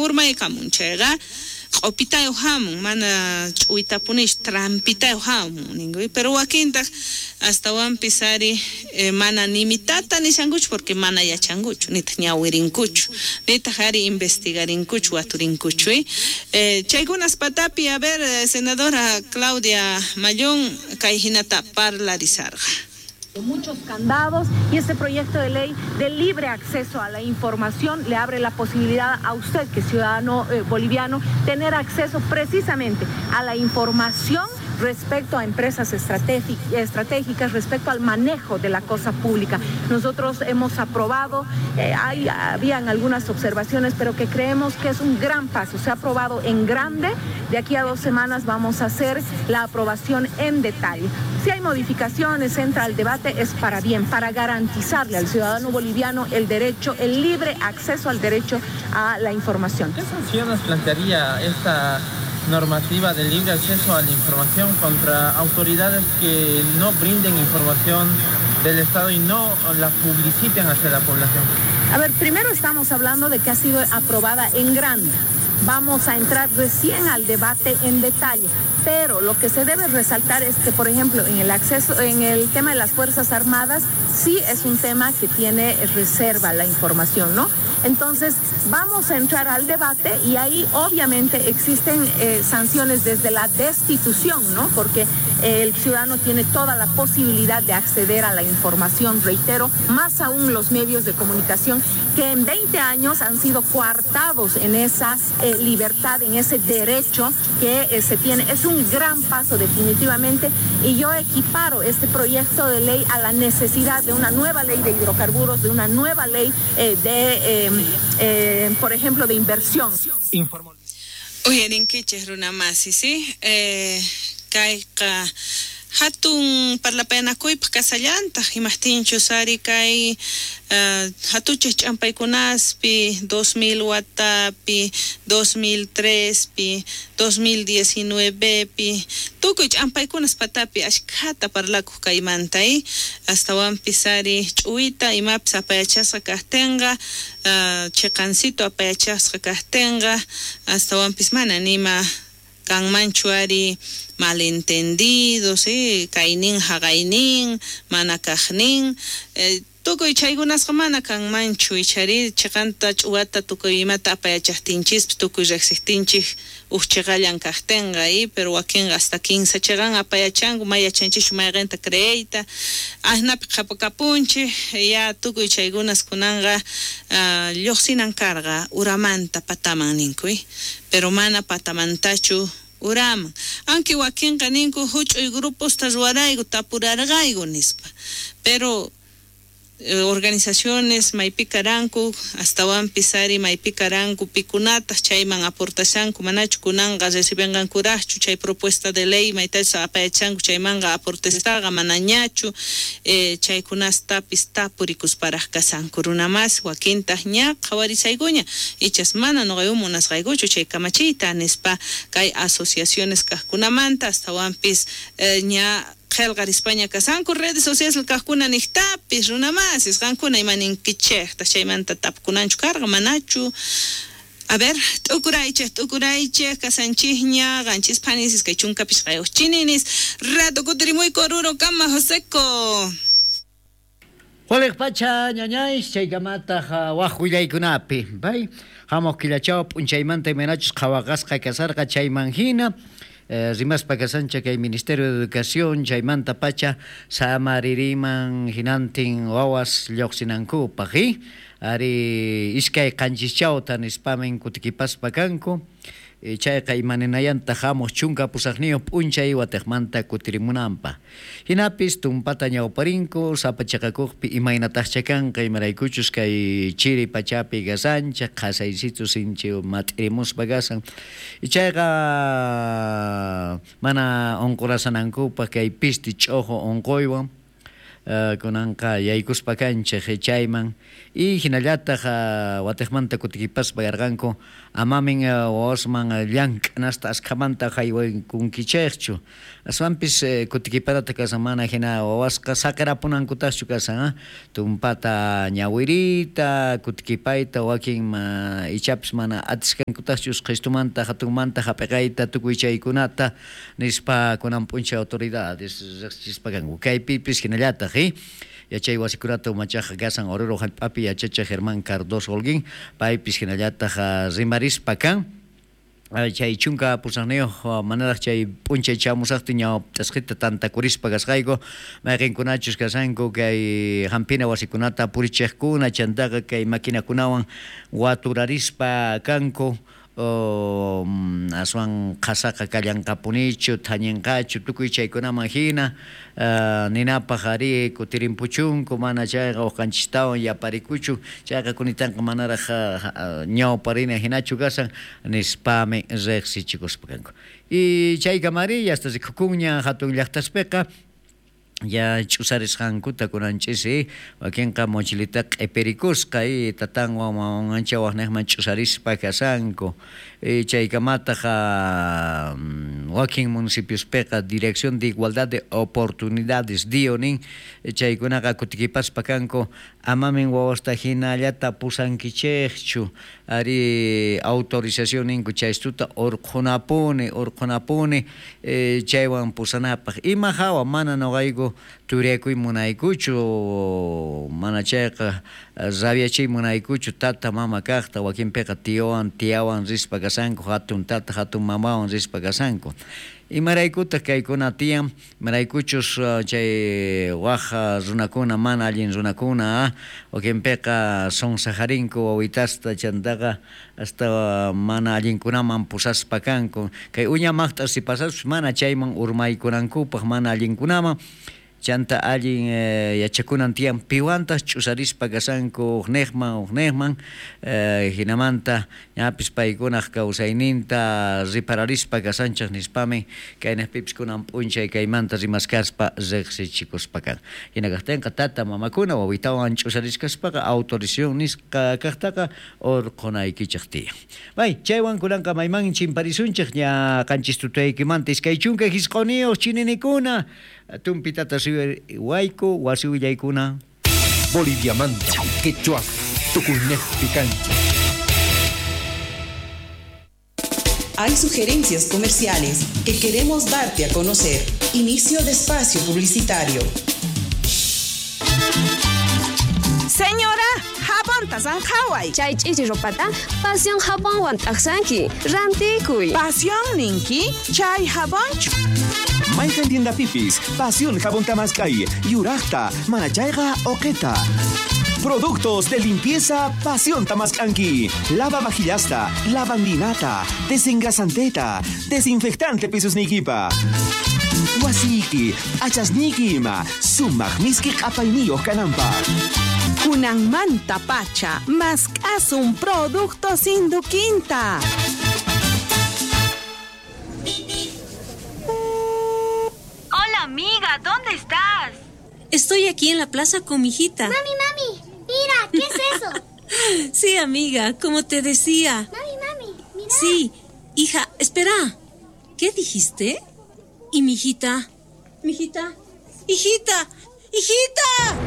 Urmaykamun chayqa q'upitayuq hamun, mana ch'uwitapunichu, trampitayuq hamun ninku, pero wakintaq astawanpis ari mana nimitata nishankuchu porque mana yachankuchu, nitaq ñawirinkuchu, nitaq ari investigarinkuchu, waturinkuchu. Chaykunas patapi, a ver, senadora Claudia Mallón kay hinata parlarisarqa. Muchos candados y este proyecto de ley de libre acceso a la información le abre la posibilidad a usted, que es ciudadano boliviano, tener acceso precisamente a la información respecto a empresas estratégicas, respecto al manejo de la cosa pública. Nosotros hemos aprobado, habían algunas observaciones, pero que creemos que es un gran paso. Se ha aprobado en grande, de aquí a 2 semanas vamos a hacer la aprobación en detalle. Si hay modificaciones, entra al debate, es para bien, para garantizarle al ciudadano boliviano el derecho, el libre acceso al derecho a la información. ¿Qué sanciones plantearía esta normativa de libre acceso a la información contra autoridades que no brinden información del Estado y no la publiciten hacia la población? A ver, primero estamos hablando de que ha sido aprobada en grande. Vamos a entrar recién al debate en detalle, pero lo que se debe resaltar es que, por ejemplo, en el acceso, en el tema de las Fuerzas Armadas, sí es un tema que tiene reserva la información, ¿no? Entonces, vamos a entrar al debate y ahí obviamente existen sanciones desde la destitución, ¿no? Porque el ciudadano tiene toda la posibilidad de acceder a la información, reitero, más aún los medios de comunicación que en 20 años han sido coartados en esa libertad, en ese derecho que se tiene. Es un gran paso definitivamente y yo equiparo este proyecto de ley a la necesidad de una nueva ley de hidrocarburos, de una nueva ley por ejemplo, de inversión. Uyarinkichej runamasi, ¿sí? Kayqa hatun parlapayanakuypaq kasallantaq imaqtinchus ari kay hatuchej ch'ampaykunaspi 2000 watapi, 2003pi, 2019pi tukuy ch'ampaykunas patapi ashkhata parlakuq kaymanta, astawanpis ari ch'uwita imapis apayachasqa kaqtinqa, chiqancito apayachasqa kaqtinqa, astawanpis mana nima kanmanchu ari malentendido, ¿sí? Kaynin haqaynin, mana kaqnin, tukuy chaykunasqa mana kanmanchu, ichari chiqanta ch'uwata tukuy imata apayachaqtinchispis, tukuy riqsiqtinchik uj chiqallan kaqtinqa, pero wakinqa hasta 15 chiqan apayachanku, may yachanchischu mayqinta creeyta, asnapi qhapakapunchik, ya tukuy chaykunas kunanqa lluqsinan karqa uramanta pataman ninku, pero mana patamantachu uraman. Aunque wakinqa ninku huch'uy gruposta ruwarayku tapurarqayku nispa, pero organizaciones maypikaranku astawanpis ari maypikaranku pikunataq chayman aportashanku manachu kunanqa recibenqankuraqchu chay propuesta de ley maytacha apayachanku chaymanqa aportestaqa manañachu, chaykunastapis tapurikusparaq kasanku runamas wakintaq ña qhawarisaykuña ichas mana nuqayku munasqaykuchu chay kamachiyta nispa kay asociaciones kaqkunamanta astawanpis ña qhelqarispaña kasanku redes sociales kaqkuna niqtapis runamasis qankuna imaninkichejta chaymanta tapkunanchu karqa manachu. A ver, t'ukuraychej kasanchijña qanchis phanisis kay chunka pishqayuq chininis rato kutirimuyku Oruro kama Joseco. Waliq pacha ñañays chaykamataq waj willaykunapi bay hamuq killachaw p'unchaymanta imaynachus qhawaqasqa kasarqa chayman hina rimaspa kasancha kay Ministerio de Educación chaymanta pacha samaririman hinantin wawas lluqsinankupaq ari iskay qanchischawta nispamin kutikipaspa kanku chayqa imaninayanta hamuq chunka pusaqniyuq p'unchay watiqmanta kutirimunanpaq hinapis tumpata ñawparinku sapa chiqakuqpi imaynataqcha kanqa imaraykuchus kay chiri pachapi kasanchik qhasaysitu sinchi mat'irimuspa kasan chayqa mana unqurasanankupaq kay pisti ch'uqu unquywan Kunanqa yaykuspa kanchej chayman y hinallataq watiqmanta kutikipaspa yarqanku amamin wawasman llank'anasta askhamanta haywaykunkichejchu aswanpis kutikiparata kasan mana hina wawasqa saqirapunankutaqchu kasan tumpata ñawiriyta kutikipayta wakin ichapis mana atisqankutaqchu usqhistumanta hatunmanta hap'iqayta tukuy chaykunata nispa kunan p'unchay autoridades riqsichispa kanku kaypipis hinallataq yachay wasikunata umachaq kasan Oruro hallp'api yachachiq Germán Cardoso Holguín paypis hinallataq rimarispa kan chay 18 manaraq chay p'unchay chamusaqtin ñawp'tasqita tantakurispa kasqayku mayqinkunachus kasanku kay hampina wasikunata purichiqkuna chantaqa kay maquinakunawan waturarispa kanku aswan qhasaqa kallanqapunichu thañinqachu tukuy chaykunaman hina ninapaq ari kutirimpuchunku mana chayqa uqanchistawan yaparikuchu chayqa kunitanqa manaraq ñawparina hinachu kasan nispami riqsichikuspa kanku y chaykamari hasta rikukunña hatun llaqtaspiqa ya ch'usarisqankuta kunanchis wakinqa mochilita q'ipirikusqa y tatanwan mamanwancha waqniqman ch'usarispa kasanku chaykamataq wakin municipiospiqa Dirección de Igualdad de Oportunidades DIO nin chaykunaqa kutikipaspa kanku amamin wawasta hinallata pusankichejchu ari autorización ninku chaystuta urqhunapuni chaywan pusanapaq ima hawa mana nuqayku turiakuy munaykuchu mana chayqa rabiachiy munaykuchu tata mama kaqta wakinpiqa tiowan tiawan rispa kasanku hatun tata hatun mamawan rispa kasanku imaraykutaq kaykuna tiyan imaraykuchus chay waj runakuna mana allin runakuna wakinpiqa sonsajarinku wawitasta chantaqa hasta mana allinkunaman pusaspa kanku kay uña maqt'as si pasaspas mana chayman urmaykunankupaq mana allinkunaman chanta allin yachakunan tiyan piwantaq ch'usarispa kasanku uqniqman hinamanta ñapis paykunaq kawsayninta ripararispa kasanchaq nispami kaynaqpipis kunan p'unchay kaymanta rimaskaspa riqsichikuspa kan hina kaqtinqa tata mamakuna wawitawan ch'usariskaspaqa autorización nisqa kaqtaqa urqhunaykichaq tiyan. Bay chaywan kunanqa mayman chimparisunchik ña qanchis tutaykimanta 29 chininikuna tumpitata wayku wasi willaykuna Boliviamanta quechua tukuynejpi kanchik. Hay sugerencias comerciales que queremos darte a conocer. Inicio de espacio publicitario. Señora, jabonta sanjaway. Chay ch'ichi ropata pasión jabonwan t'aqsanki. Rantikuy. Pasión ninki, chay jabonchu. Mayqan tiendapipis, Pasión Jabón Tamaskay, Yuraqta, Manachayqa, Oqeta. Productos de limpieza Pasión Tamaskanki. Lava vajillasta, lavandinata, desengrasanteta, desinfectante pisusnikipa. Wasiki, achasniki ima, sumaq miski q'apayniyuq kananpaq. Kunanmanta pacha, mask'asun productos Induquinta. Hola amiga, ¿dónde estás? Estoy aquí en la plaza con mi hijita. Mami, mami, mira, ¿qué es eso? Sí, amiga, como te decía. Mami, mami, mira. Sí, hija, espera. ¿Qué dijiste? ¿Y mi hijita? ¿Mi hijita? ¡Hijita! ¡Hijita!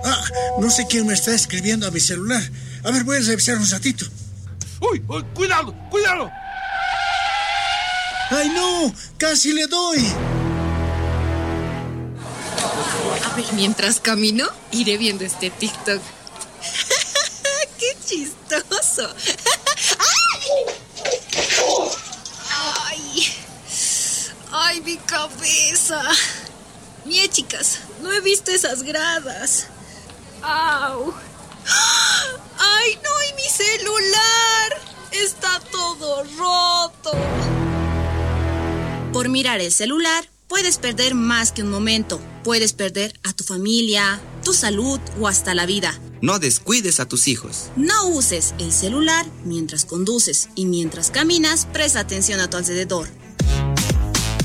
Ah, no sé quién me está escribiendo a mi celular. A ver, voy a revisar un ratito. ¡Uy! ¡Uy! ¡Cuidado! ¡Cuidado! ¡Ay, no! ¡Casi le doy! A ver, mientras camino, iré viendo este TikTok. ¡Qué chistoso! ¡Ay! ¡Ay, mi cabeza! Mie, chicas, no he visto esas gradas. ¡Au! ¡Ay, no! ¡Y mi celular! ¡Está todo roto! Por mirar el celular, puedes perder más que un momento. Puedes perder a tu familia, tu salud o hasta la vida. No descuides a tus hijos. No uses el celular mientras conduces y mientras caminas, presta atención a tu alrededor.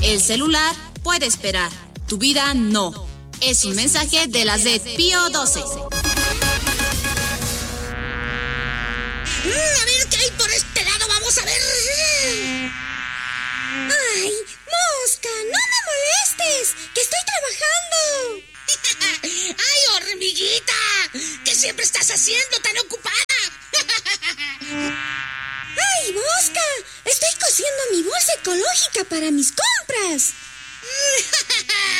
El celular puede esperar, tu vida no. Es un mensaje de la Z Pío 12. A ver qué hay por este lado, vamos a ver. ¡Ay, mosca! ¡No me molestes! ¡Que estoy trabajando! ¡Ay, hormiguita! ¿Qué siempre estás haciendo tan ocupada? ¡Ay, mosca! Estoy cosiendo mi bolsa ecológica para mis compras.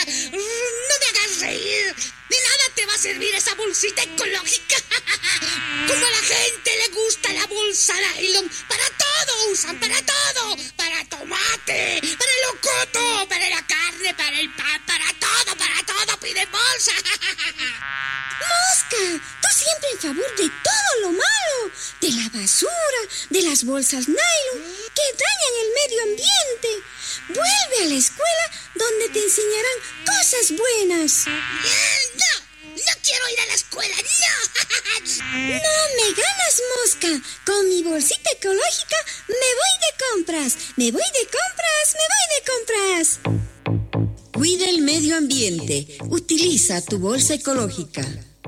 ¡No me hagas reír! De nada te va a servir esa bolsita ecológica. Como a la gente le gusta la bolsa nylon, para todo usan, para todo. Para tomate, para el locoto, para la carne, para el pan, para todo piden bolsa. ¡Mosca! Tú siempre en favor de todo lo malo, de la basura, de las bolsas nylon que dañan el medio ambiente. Vuelve a la escuela donde te enseñarán cosas buenas. ¡No! ¡No quiero ir a la escuela! ¡No! ¡No me ganas, mosca! Con mi bolsita ecológica me voy de compras. ¡Me voy de compras! ¡Me voy de compras! Cuida el medio ambiente. Utiliza tu bolsa ecológica.